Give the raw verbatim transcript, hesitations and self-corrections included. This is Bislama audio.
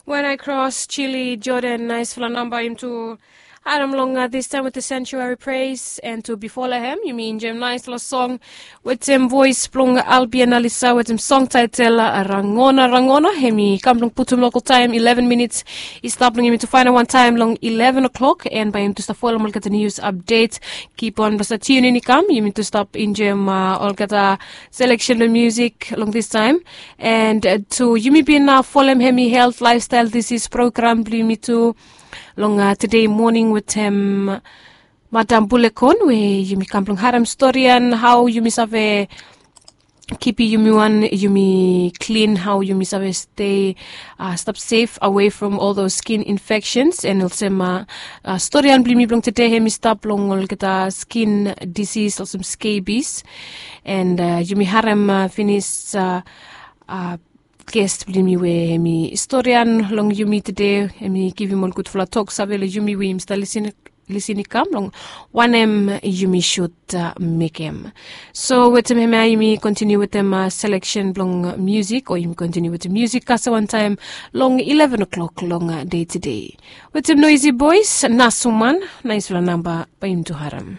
When I cross chili jordan naisfala namba yumi tu harim long distaim wetem sanctuary praise and tu bifo long hem yumi enjoim naisfala song wetem voes blong albion alisa wetem song taitel rangona rangona hem i kam blong putum lokal taim eleven minits. I stap long yumi tu fainal wantaim long eleven o'clock and bai yumi tu stap folom olgeta nius apdet. Kip on blong stap tiunin i kam yumi tu stap enjoim olgeta seleksen blong musik long distaim. And tu yumi bin folem hemi helt laifstail disis program blong yumi tu long tede moning wetem madam bulekon we yumi kam blong harem storian hau yumi save kipi yumi wan yumi klin hau yumi save stei stap sef awe from ol those skin infekshens and olsem storian blong yumi blong tede hemi stap long olgeta skin disis olsem skebis. And yumi harem finis ges blong yumi we hemi storian long yumi tede hemi givim ol gudfala tok save long yumi we yumi stap lisin i kam long wanem yumi sut mekem. So wetem hemia yumi kontiniu wetem seleksen blong musik o yumi kontiniu wetem musik kasem wantaim long eleven o'clock long dei tede. Wetem noisi bois nasuman naisfala namba bai yumi tu harim.